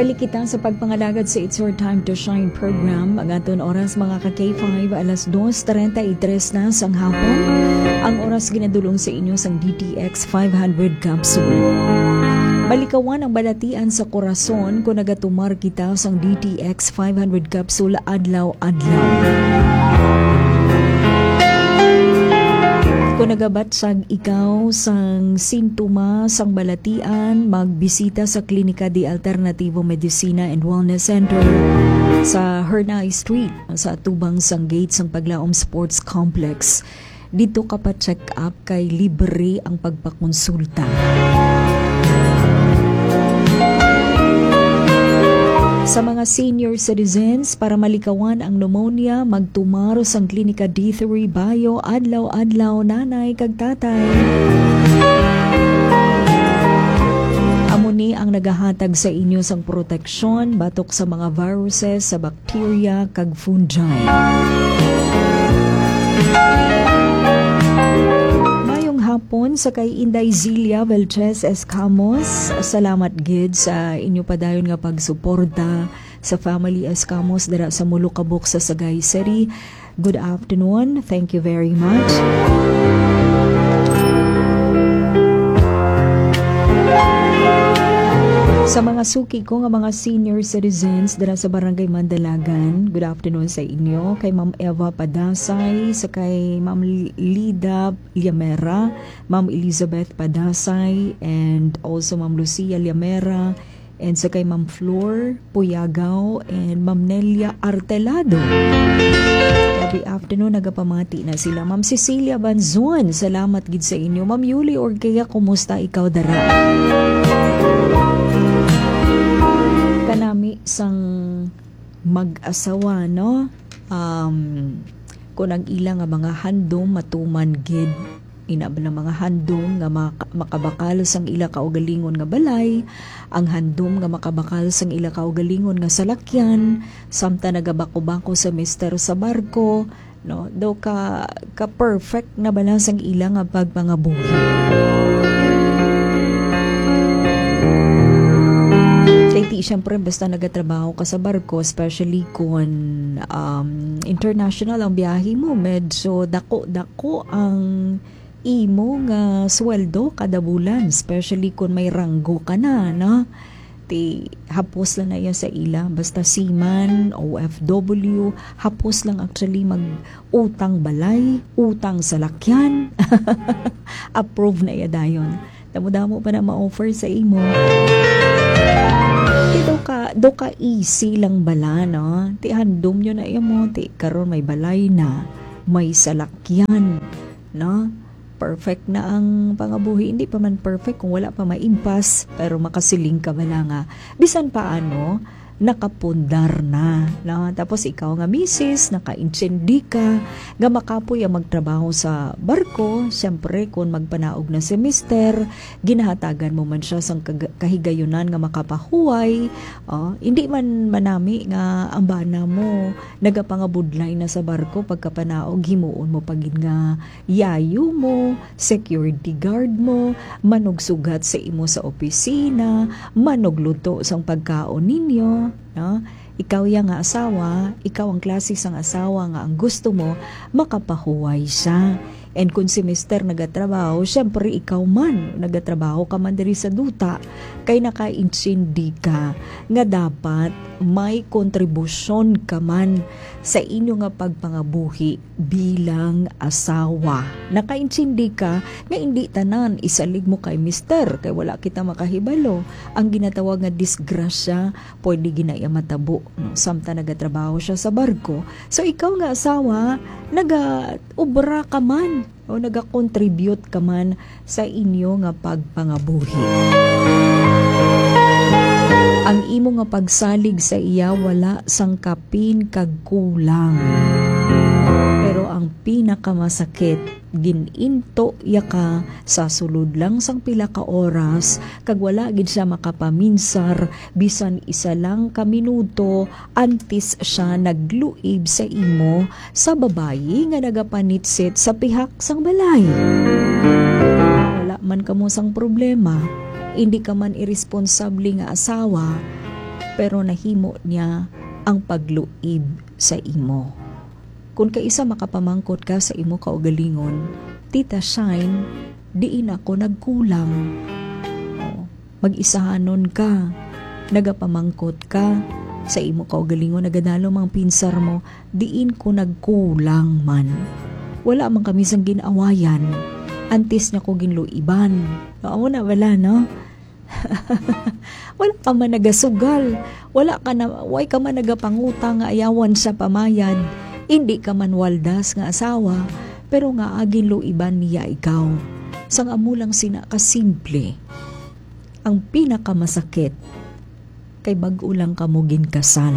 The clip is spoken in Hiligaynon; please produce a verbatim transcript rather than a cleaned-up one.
Balik kita sa pagpangalagad sa It's Your Time to Shine program. Ang aton oras, mga ka K five, alas dos treinta y tres na sang hapon. Ang oras ginadulong sa inyo sang D T X five hundred capsule. Malikawan ang balatian sa korason kung nagatumar kita sang D T X five hundred capsule adlaw-adlaw. Kung nagabatyag ikaw sang sintoma sang balatian, magbisita sa Klinika de Alternativo Medicina and Wellness Center sa Hernay Street, sa atubang sang gate sang Paglaom Sports Complex. Dito ka pa-check up kay libre ang pagpakonsulta. Sa mga senior citizens, para malikawan ang pneumonia, magtumar sang Klinika D three Bio adlaw-adlaw, nanay kag tatay. Amo ni ang nagahatag sa inyo sang proteksyon batok sa mga viruses, sa bacteria, kag fungi. Mayong hapon sa kay Inday Zilia Velches Escamos. Salamat gid sa inyo padayon nga pagsuporta sa Family Escamos dira sa Mulukabok sa Sagay City. Good afternoon. Thank you very much. Sa mga suki ko nga mga senior citizens dira sa Barangay Mandalagan, good afternoon sa inyo. Kay Ma'am Eva Padasay, sa kay Ma'am Lida Liamera, Ma'am Elizabeth Padasay, and also Ma'am Lucia Liamera, and sa kay Ma'am Flor Puyagaw and Ma'am Nelia Artelado. Every afternoon, nagapamati na sila. Ma'am Cecilia Banzon, salamat gid sa inyo. Ma'am Yuli Orkea, kumusta ikaw dara? Kanami sang mag-asawa, no? Um, kung ang ila nga mga handom matuman gid, ina ba nga mga handom nga maka-, makabakal sang ila kaugalingon nga balay, ang handom nga makabakal sang ila kaugalingon nga salakyan, samtang nagabako-bako sa mister sa barko, no? Daw ka, ka perfect na bala sang ila nga pagpangabuhi. Kay ti, syempre, basta nagatrabaho ka sa barko, especially kung, um, international ang biyahe mo, medyo dako-dako ang imo nga sweldo kada bulan, especially kung may ranggo ka na, no? Ti, hapos lang na iya sa ila. Basta seaman, O F W, hapos lang actually mag-utang balay, utang salakyan. Approve na iya dayon. Damo-damo pa na ma-offer sa imo. Ti, do ka, do ka easy lang bala, no? Ti, handom yun na imo. Ti, karon may balay na, may salakyan, no? Perfect na ang pangabuhi. Hindi pa man perfect kung wala pa maimpas, pero makasiling ka bala nga bisan paano, nakapundar na, no? Tapos ikaw nga misis, nakaintindi ka nga makapoy ang magtrabaho sa barko. Siyempre, kung magpanaog na si mister, ginahatagan mo man siya sang kag-, kahigayunan nga makapahuway. Oh, hindi man manami nga ang bana mo nagapangabudlay na sa barko, pagkapanaog, himuon mo pa gid nga yayo mo, security guard mo, manugsugat sa imo sa opisina, manugluto sang pagkaon ninyo, no? Ikaw ya nga asawa, ikaw ang klase sang asawa nga ang gusto mo, makapahuway siya. And kung si mister nagatrabaho, syempre ikaw man, nagatrabaho ka man diri sa duta, kay nakaintindi ka nga dapat may kontribusyon ka man sa inyo nga pagpangabuhi bilang asawa. Nakaintindi ka nga indi tanan isalig mo kay mister, kay wala kita makahibalo. Ang ginatawag nga disgrasya, pwede gid na iya matabo, no? Samtang nagatrabaho siya sa barko. So, ikaw nga asawa, nagaobra ka man o nagakontribute ka man sa inyo nga pagpangabuhi. Ang imo nga pagsalig sa iya wala sang kapin kag kulang. Pero ang pinakamasakit, gin-into ya ka sa sulod lang sang pila ka oras, kag wala gid siya makapaminsar bisan isa lang ka minuto antes siya nagluib sa imo sa babayi nga nagapanitsit sa pihak sang balay. Wala man kamo sang problema, indi ka man iresponsable nga asawa, pero nahimo niya ang pagluib sa imo. Kung kaisa makapamangkot ka sa imo kaugalingon, "Tita Shine, diin ako nagkulang?" O, mag-isahanon ka, nagapamangkot ka sa imo kaugalingon, nagadalom ang pinsar mo, "Diin ko nagkulang man? Wala man kami sang gin-awayan. Antes niya ko ginluiban." Amo na bala, no? Wala ka man nagasugal. Wala ka na, way ka man nagapangutang nga ayawan sa pamayad. Hindi ka man waldas nga asawa, pero nga ginluiban niya ikaw. Sang amo lang sina ka simple. Ang pinakamasakit kay bag-o lang kamo ginkasal.